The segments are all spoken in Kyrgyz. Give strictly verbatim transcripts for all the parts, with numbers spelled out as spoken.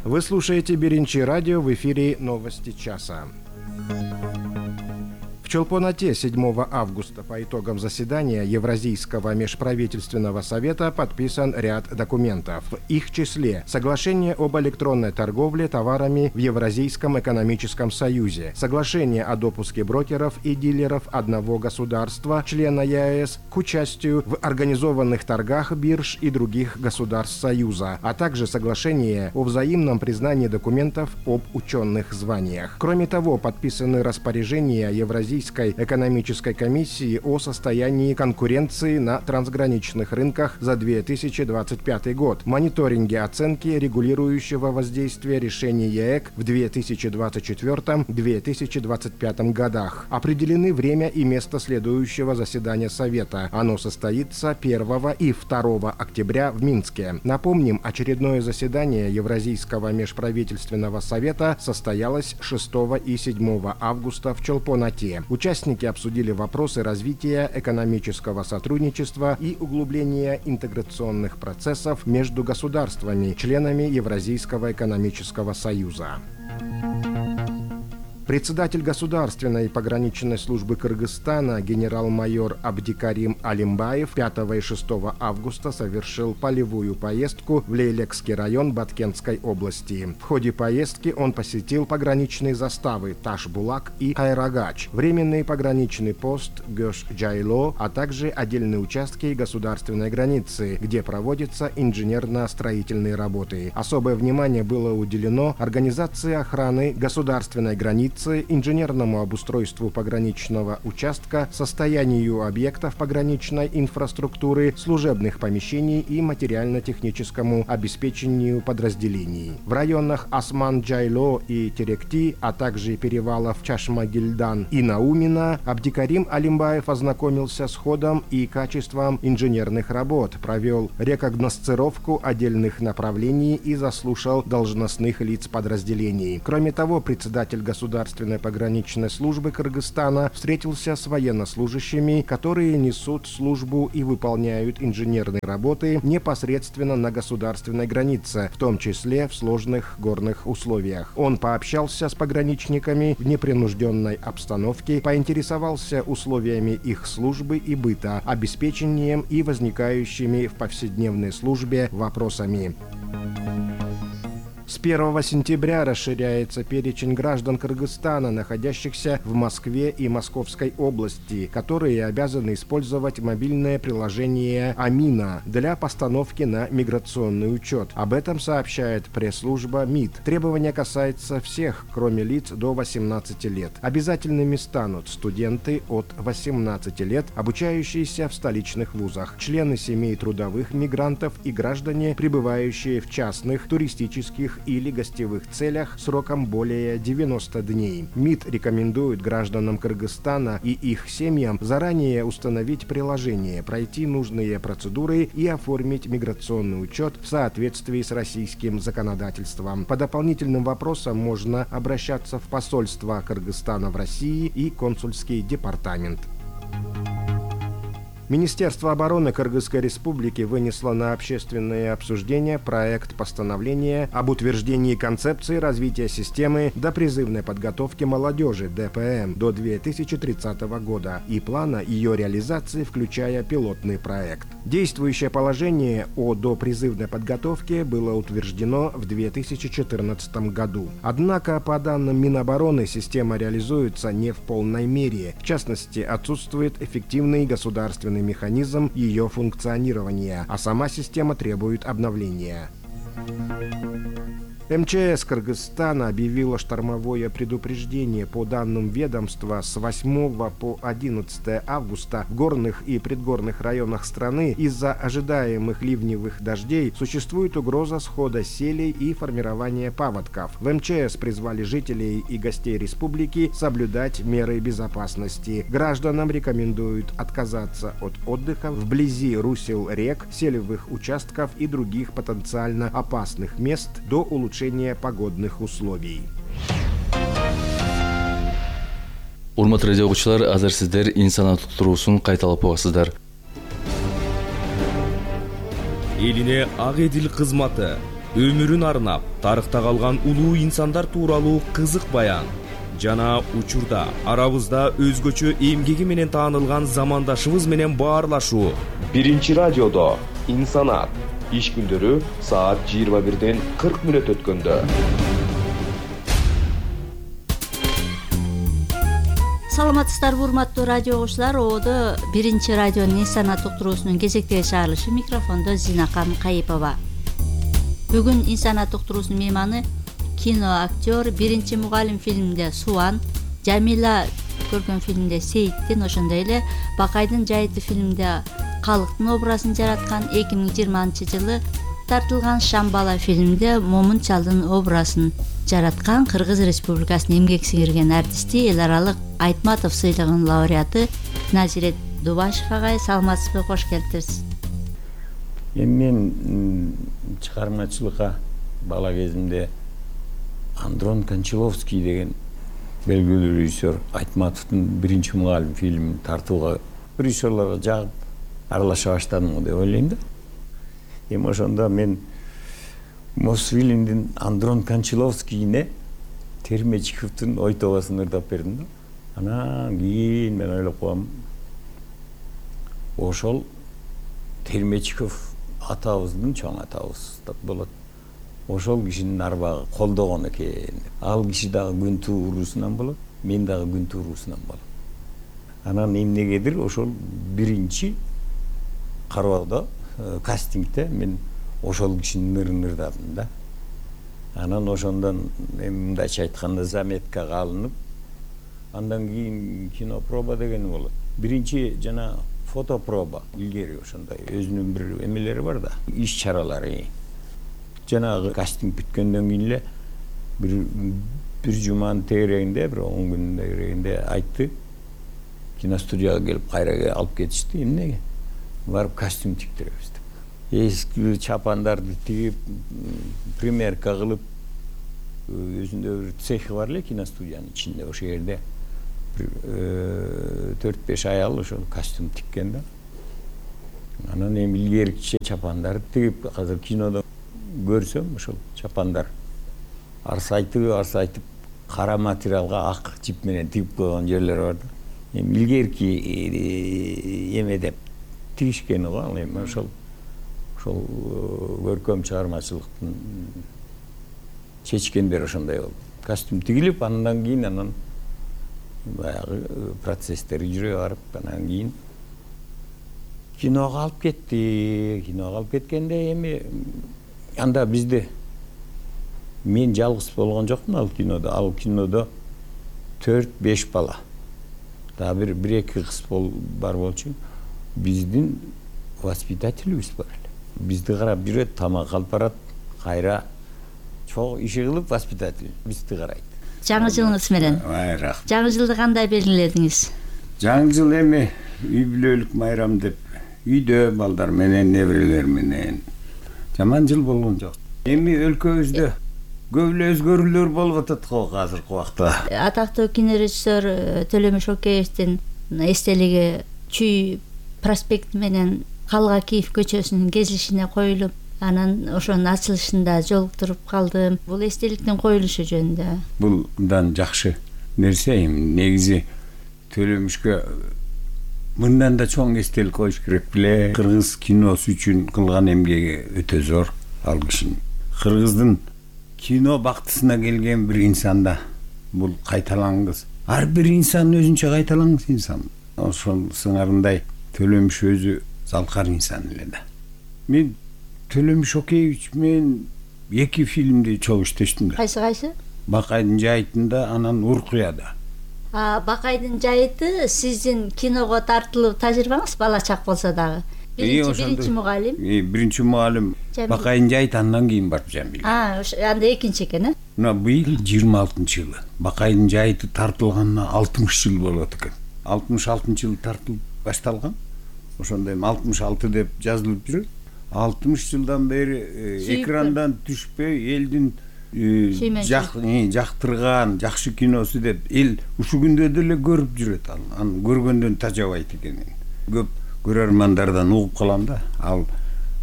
Вы слушаете Биринчи радио, в эфире новости часа. В Чолпон-Ате седьмого августа по итогам заседания Евразийского межправительственного совета подписан ряд документов. В их числе соглашение об электронной торговле товарами в Евразийском экономическом союзе, соглашение о допуске брокеров и дилеров одного государства, члена ЕАЭС, к участию в организованных торгах бирж и других государств Союза, а также соглашение о взаимном признании документов об ученых званиях. Кроме того, подписаны распоряжения Евразийского экономической комиссии о состоянии конкуренции на трансграничных рынках за две тысячи двадцать пятый год, мониторинге оценки регулирующего воздействия решений ЕЭК в две тысячи двадцать четвёртом — две тысячи двадцать пятом годах. Определены время и место следующего заседания Совета. Оно состоится первого и второго октября в Минске. Напомним, очередное заседание Евразийского межправительственного совета состоялось шестого и седьмого августа в Чолпон-Ате. Участники обсудили вопросы развития экономического сотрудничества и углубления интеграционных процессов между государствами, членами Евразийского экономического союза. Председатель Государственной пограничной службы Кыргызстана генерал-майор Абдикарим Алимбаев пятого и шестого августа совершил полевую поездку в Лейлекский район Баткентской области. В ходе поездки он посетил пограничные заставы Таш-Булак и Кайрагач, временный пограничный пост Гёш-Джайло, а также отдельные участки государственной границы, где проводятся инженерно-строительные работы. Особое внимание было уделено организации охраны государственной границы, инженерному обустройству пограничного участка, состоянию объектов пограничной инфраструктуры, служебных помещений и материально-техническому обеспечению подразделений. В районах Осман-Джайло и Теректи, а также перевалов Чашма-Гильдан и Наумина, Абдикарим Алимбаев ознакомился с ходом и качеством инженерных работ, провел рекогносцировку отдельных направлений и заслушал должностных лиц подразделений. Кроме того, председатель государственной пограничной службы Кыргызстана встретился с военнослужащими, которые несут службу и выполняют инженерные работы непосредственно на государственной границе, в том числе в сложных горных условиях. Он пообщался с пограничниками в непринужденной обстановке, поинтересовался условиями их службы и быта, обеспечением и возникающими в повседневной службе вопросами. С первого сентября расширяется перечень граждан Кыргызстана, находящихся в Москве и Московской области, которые обязаны использовать мобильное приложение «Амина» для постановки на миграционный учет. Об этом сообщает пресс-служба МИД. Требование касается всех, кроме лиц до восемнадцати лет. Обязательными станут студенты от восемнадцати лет, обучающиеся в столичных вузах, члены семей трудовых мигрантов и граждане, пребывающие в частных туристических или гостевых целях сроком более девяноста дней. МИД рекомендует гражданам Кыргызстана и их семьям заранее установить приложение, пройти нужные процедуры и оформить миграционный учет в соответствии с российским законодательством. По дополнительным вопросам можно обращаться в посольство Кыргызстана в России и консульский департамент. Министерство обороны Кыргызской Республики вынесло на общественное обсуждение проект постановления об утверждении концепции развития системы допризывной подготовки молодежи (дэ пэ эм) до две тысячи тридцатого года и плана ее реализации, включая пилотный проект. Действующее положение о допризывной подготовке было утверждено в две тысячи четырнадцатом году. Однако, по данным Минобороны, система реализуется не в полной мере. В частности, отсутствует эффективный государственный механизм ее функционирования, а сама система требует обновления. эм че эс Кыргызстана объявила штормовое предупреждение. По данным ведомства, с восьмого по одиннадцатое августа в горных и предгорных районах страны из-за ожидаемых ливневых дождей существует угроза схода селей и формирования паводков. В эм че эс призвали жителей и гостей республики соблюдать меры безопасности. Гражданам рекомендуют отказаться от отдыха вблизи русел рек, селевых участков и других потенциально опасных мест до улучшения погодных условий. Урматтуу радио окуучулар, азыр сиздер инсанат туруусун кайталап угасыздар. Элине ак эдил кызматы өмүрүн арнап тарыхта калган улуу инсандар тууралуу кызык баян жана учурда арабызда өзгөчө эмгеги менен таанылган замандашыбыз менен баарлашуу. Биринчи радиодо инсанат иш күндөрү саат жыйырма бирден кырк мүнөт өткөндө. Саламатсыздарбы урматтуу радио окуучулар, ободо биринчи радионун инсанат уктуруусунун кезектеги чыгарылышы, микрофондо Зинакан Кайыпова. Бүгүн инсанат уктуруусунун мейманы кино актер, биринчи мугалим фильминде Суан, Жамила көргөн фильминде Сейиттин, ошондой эле Бакайдын жайыты фильминде калктын образын жараткан, эки миң жыйырманчы жылы тартылган Шамбала фильминде Момун чалдын образын жараткан Кыргыз Республикасынын эмгек сиңирген артисти, эл аралык Айтматов сыйлыгынын лауреаты Назирет Дубашев агай. Саламатсызбы, кош келиптирсиз. Эми мен чыгармачылыкка бала кезимде Андрон Кончаловский деген белгилүү режиссер Айтматовдун биринчи мугалим фильмин тартууга режиссерлорго жагып аралаша баштадым деп ойлойм да. Эми ошондо мен Мосфильмдин Андрон Кончаловскийине Термечиковдун ой тобосун ырдап бердим да. Анан кийин мен ойлоп коем, ошол Термечиков атабыздын чоң атабыз деп болот. Ошол кишинин арбагы колдогон экен. Ал киши дагы күн туурусунан болот, мен дагы күн туурусунан болот. Анан эмнегедир ошол биринчи кароодо кастингде мен ошол кишинин ырын ырдадым да. Анан ошондон эми мындайча айтканда заметкага алынып, андан кийин кинопроба деген болот. Биринчи жана фотопроба илгери ошондой өзүнүн бир эмелери бар да, иш чаралары. Жанагы кастинг бүткөндөн кийин эле бир бир жуманын тегерегинде, бир он күнүн тегерегинде айтты. Киностудияга келип кайра алып кетишти. Эмнеге? Барып костюм тиктиребиз деп. Эски чапандарды тигип, примерка кылып, өзүндө бир цехи бар эле киностудиянын ичинде, ошол жерде төрт беш аял ошол костюм тиккен да. Анан эми илгеркиче чапандарды тигип, азыр кинодо көрсөм ошол чапандар арсайтып арсайтып кара материалга ак жип менен тигип койгон жерлери бар да. Эми илгерки эме деп тигишкени го, ал эми ошол ошол көркөм чыгармачылыктын чечкендери ошондой болду. Костюм тигилип, андан кийин анан баягы процесстери жүрө барып, анан кийин киного алып кетти. Киного алып кеткенде эми анда бизде мен жалгыз болгон жокмун ал кинодо. Ал кинодо төрт беш бала. Дагы бир бир эки кыз бар болчу. Биздин воспитателибиз бар эле. Бизди карап жүрөт, тамак алып барат, кайра чоң иши кылып воспитатель бизди карайт. Жаңы жылыңыз менен. Майрак. Жаңы жылды кандай белгиледиңиз? Жаңы жыл эми үй бүлөлүк майрам деп үйдө балдар менен, неберелер менен жаман жыл болгон жок. Эми өлкөбүздө көп эле өзгөрүүлөр болуп атат го азыркы убакта. Атактуу кинорежиссер Төлөмүш Океевдин эстелиги Чүй проспекти менен Калгакиев көчөсүнүн кезилишине коюлуп, анан ошонун ачылышында жолуктуруп калдым. Бул эстеликтин коюлушу жөнүндө. Бул мындан жакшы нерсе. Эми негизи Төлөмүшкө мындан да чоң эстелик коюш керек беле. Кыргыз киносу үчүн кылган эмгеги өтө зор ал кишинин. Кыргыздын кино бактысына келген бир инсанда бул кайталангыс. Ар бир инсан өзүнчө кайталангыс инсан. Ошол сыңарындай Төлөмүш өзү залкар инсан эле да. Мен Төлөмүш Океевич менен эки фильмди чогуу иштештим да. Кайсы кайсы? Бакайдын жайытында, анан Уркуяда. А Бакайдын жайыты сиздин киного тартылуу тажрыйбаңыз бала чак болсо дагы. Биринчи биринчи мугалим. Биринчи мугалим Бакайдын жайыты, андан кийин барып Жамил. А, анда экинчи экен, э? Мына быйыл жыйырма алтынчы жылы. Бакайдын жайыты тартылганына алтымыш жыл болот экен. алтымыш алтынчы жылы тартылып башталган. Ошондой алтымыш алты деп жазылып жүрөт. алтымыш жылдан бери экрандан түшпөй элдин жактырган жакшы киносу деп эл ушу күндө деле көрүп жүрөт. Ал аны көргөндөн тажабайт экенин көп көрөрмандардан угуп калам да. Ал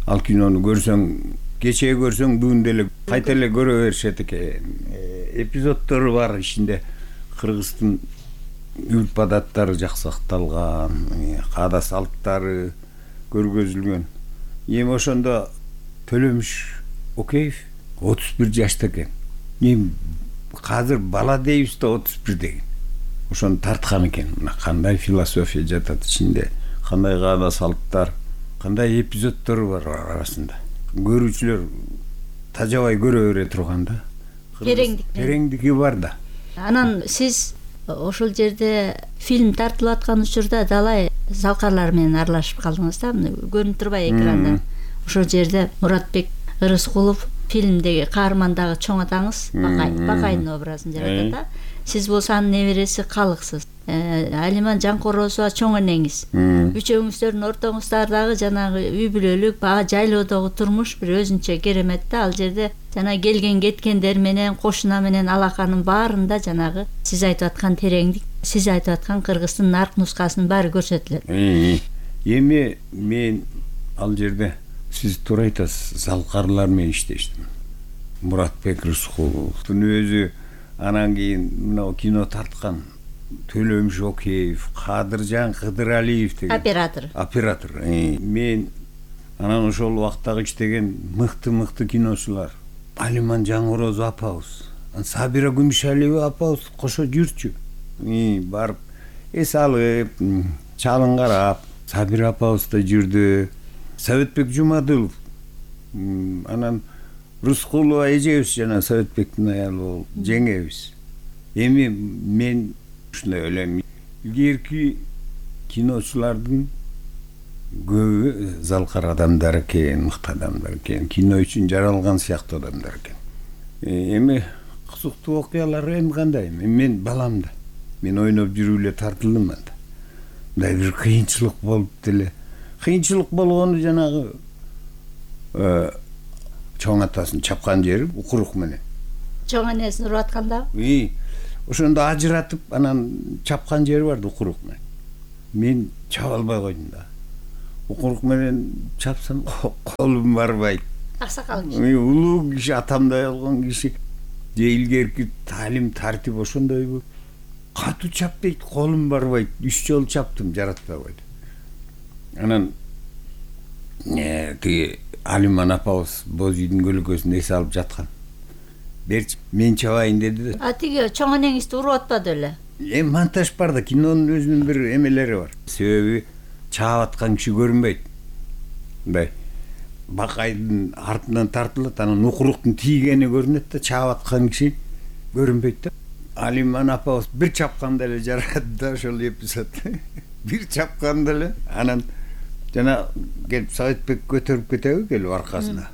ал кинону көрсөң кечээ көрсөң бүгүн деле кайта эле көрө беришет экен. Эпизоддору бар ичинде. Кыргыздын үрп адаттары жаксакталган, каада салттары көргөзүлгөн. Эми ошондо Төлөмүш Океев отуз бир жашта экен. Эми азыр бала дейбиз да отуз бир деген. Ошону тарткан экен. Мына кандай философия жатат ичинде, кандай каада салттар, кандай эпизоддор бар арасында. Көрүүчүлөр тажабай көрө бере турган да. Тереңдик. Тереңдиги бар да. Анан сиз ошол жерде фильм тартылып аткан учурда далай залкарлар менен аралашып калдыңыз да, көрүнүп турбайбы экрандан. Ошол жерде Муратбек Ырыскулов фильмдеги каармандагы чоң атаңыз Бакай, Бакайдын образын жаратат да. Сиз болсо анын небереси Калыксыз. Алиман Жанкорозова чоң энеңиз. Үчөөңүздөрдүн ортоңуздагы жанагы үй бүлөлүк, баа жайлоодогу турмуш бир өзүнчө керемет да. Ал жерде жана келген кеткендер менен, кошуна менен алаканын баарында жанагы сиз айтып аткан тереңдик, сиз айтып аткан Кыргыздын нарк нускасынын баары көрсөтүлөт. Эми мен ал жерде сиз туура айтасыз, залкарлар менен иштештим. Муратбек Рыскуловдун өзү, анан кийин мына кино тарткан Төлөмүш Океев, Кадыржан Кыдыралиев деген оператор. Оператор. Мен анан ошол убактагы иштеген мыкты-мыкты киночулар. Алиман Жаңорозова апабыз, Сабира Күмүшалиева апабыз кошо жүрчү. Барып эс алып, чалын карап, Сабира апабыз да жүрдү. Советбек Жумадылов, анан Рыскулова эжебиз жана Советбектин аялы жеңебиз. Эми мен ушундай ойлойм, илгерки киночулардын көбү залкар адамдар экен, мыкты адамдар экен, кино үчүн жаралган сыяктуу адамдар экен. Эми кызыктуу окуялар эми кандай? Мен балам да, мен ойноп жүрүп эле тартылдым анда. Мындай бир кыйынчылык болуп деле. Кыйынчылык болгону жанагы чоң атасын чапкан жери укурук менен. Чоң энесин уруп атканда? И, ошондо ажыратып, анан чапкан жери бар да укурук менен. Мен чаба албай койдум да. Укурук менен чапсам колум барбайт. Аксакал киши. Улуу киши, атамдай болгон киши. Же илгерки таалим тартип ошондойбу. Катуу чап дейт, колум барбайт. Үч жолу чаптым, жаратпай койду. Анан тиги Алиман апабыз боз үйдүн көлөкөсүндө эс алып жаткан. Берчи, мен чабайын деди да. А тиги чоң энеңизди уруп атпады эле? Эми монтаж бар да, кинонун өзүнүн бир эмелери бар. Себеби чаап аткан киши көрүнбөйт. Мындай Бакайдын артынан тартылат, анан укуруктун тийгени көрүнөт да, чаап аткан киши көрүнбөйт да. Алиман апабыз бир чапканда эле жаратты да ошол эпизод. Бир чапканда эле, анан жана келип Советбек көтөрүп кетеби келип аркасына.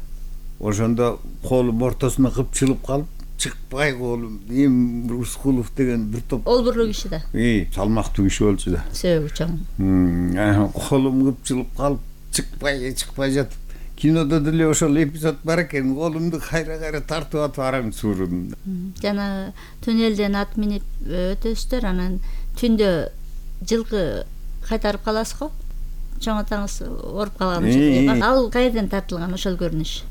Ошондо колум ортосуна кыпчылып калып, чыкпай колум. Эми Рыскулов деген бир топ олбурлуу киши да. И, салмактуу киши болчу да. Сөөгү чоң. Колум кыпчылып калып, чыкпай, чыкпай жатып. Кинодо деле ошол эпизод бар экен, колумду кайра-кайра тартып атып арам суурудум. Жана туннелден ат минип өтөсүздөр, анан түндө жылкы кайтарып каласыз го? Чоң атаңыз оруп калган учурда. Ал кайерден тартылган ошол көрүнүш?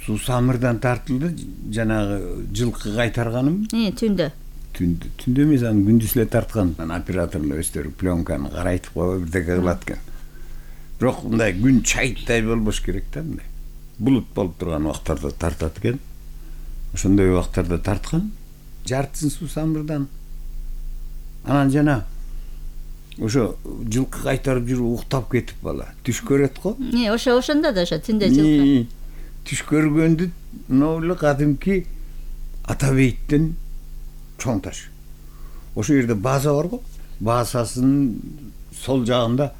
Сусамырдан тартылды, жанагы жылкы кайтарганым. И, түндө. Түндө, түндө эмес, аны күндүз эле тарткан. Операторлор өздөрү пленканы карайтып коюп бирдеке кылат экен. Бирок мындай күн чайыттай болбош керек да, мындай. Булут болуп турган убактарда тартат экен. Ошондой убактарда тарткан. Жартысын Сусамырдан. Анан жана ошо жылкы кайтарып жүрүп уктап кетип бала. Түш көрөт го? Не, ошо ошондо да ошо түндө жылкы. Түш көргөндү ноулу кадимки Атабейттен чоң таш. Ошо жерде база бар го. Базасынын сол жагында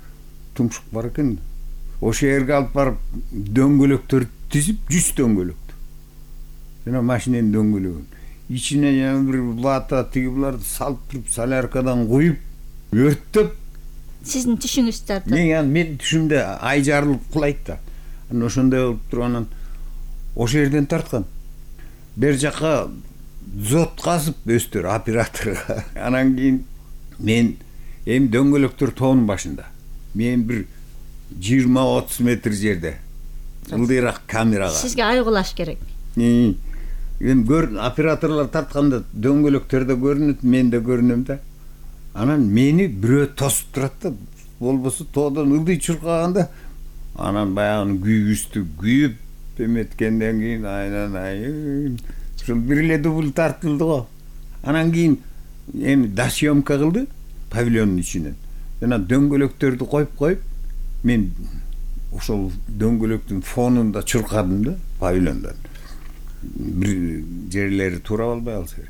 тумшук бар экен. Ошо жерге алып барып дөңгөлөктөр тизип, жүз дөңгөлөктү. Жана машиненин дөңгөлөгүн. Ичине жана бир лата тиги буларды салып туруп, соляркадан куюп, өрттөп. Сиздин түшүңүз тартып. Мен мен түшүмдө ай жарылып кулайт да. Анан ошондой болуп турганан ошо жерден тарткан. Бер жакка зот казып өстөр операторго. Анан кийин мен эми дөңгөлөктөр тоонун башында. Мен бир жыйырма отуз метр жерде ылдыйраак камерага. Сизге айгулаш керек. Эми көр операторлор тартканда дөңгөлөктөрдө көрүнөт, мен да көрүнөм да. Анан мени бирөө тосуп турат да, болбосо тоодон ылдый чуркаганда анан баягы күйүүстү күйүп эметкенден кийин айнан ушул бир эле дубль тартылды го. Анан кийин эми досъемка кылды павильондун ичинен. Жана дөңгөлөктөрдү коюп коюп мен ошол дөңгөлөктүн фонунда чуркадым да павильондон. Бир жерлери туура болбой калса керек.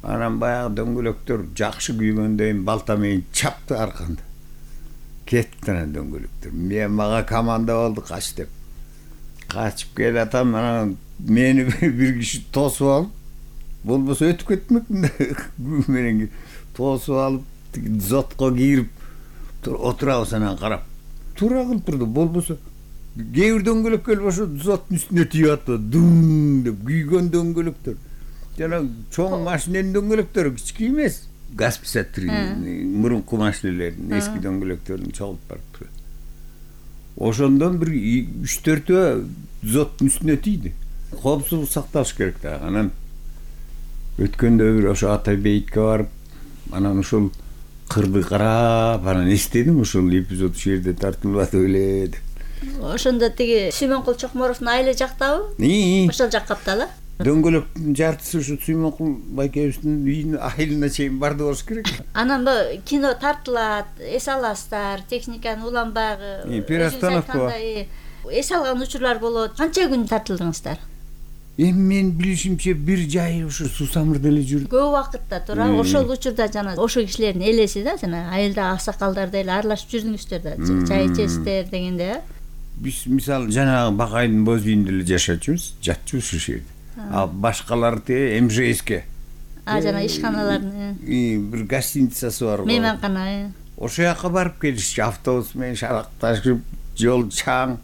Анан баягы дөңгөлөктөр жакшы күйгөндөн балта менен чапты арканда. Кетти анан дөңгөлөктөр. Мен мага команда болду кач деп. Качып келатам, анан мени бир киши тосуп алып, болбосо өтүп кетмекмин да. Күй менен тосуп алып, зотко кирип отурабыз анан карап. Туура кылып турду, болбосо кээ бир дөңгөлөккө ошо зоттун үстүнө тийип атты. Дум деп күйгөн дөңгөлөктөр. Жана чоң машиненин дөңгөлөктөрү кички эмес. газ писаттыр мурунку машинелердин эски дөңгөлөктөрүн чогулуп барып турат. Ошондон бир үч төртөө зоттун үстүнө тийди. Коопсуздук сакталыш керек да. Анан өткөндө бир ошо Атай бейитке барып, анан ошол кырды карап, анан эстедим ошол эпизод ушул жерде тартылып атып эле деп. Ошондо тиги Сүймөнкул Чокморовдун айылы жактабы? Ошол жак капталы. Дөңгөлөктүн жартысы ушу Сүймөнкул байкебиздин үйүнүн айылына чейин барды болуш керек. Анан бу кино тартылат, эс аласыздар, техниканы уланбагы. Перестановка бар. Эс алган учурлар болот. Канча күн тартылдыңыздар? Эми мен билишимче бир жай ушу Суусамырда эле жүрдүм. Көп убакытта туура. Ошол учурда жана ошол кишилердин элеси да, жана айылда аксакалдар эле аралашып жүрдүңүздөр да, чай ичесиздер дегенде. Биз мисалы жанагы Бакайдын боз үйүндө эле жашачубуз, жатчубуз ушул жерде. А башкалар те эм жэ эске. А жана ишканалардын. Бир гостиницасы бар го. Мейманкана. Ошол жака барып келишчи, автобус менен шаракташып, жол чаң.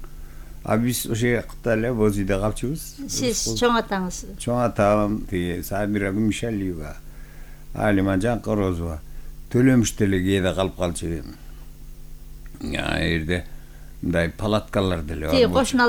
А биз ошол жакта эле боз үйдө калчубуз. Сиз чоң атаңыз? Чоң атам тиги Сабира Гүмүшалиева, Алима Жанкорозова, Төлөмүштө эле кээде калып калчу. Я жерде мындай палаткалар деле бар. Тиги кошуналар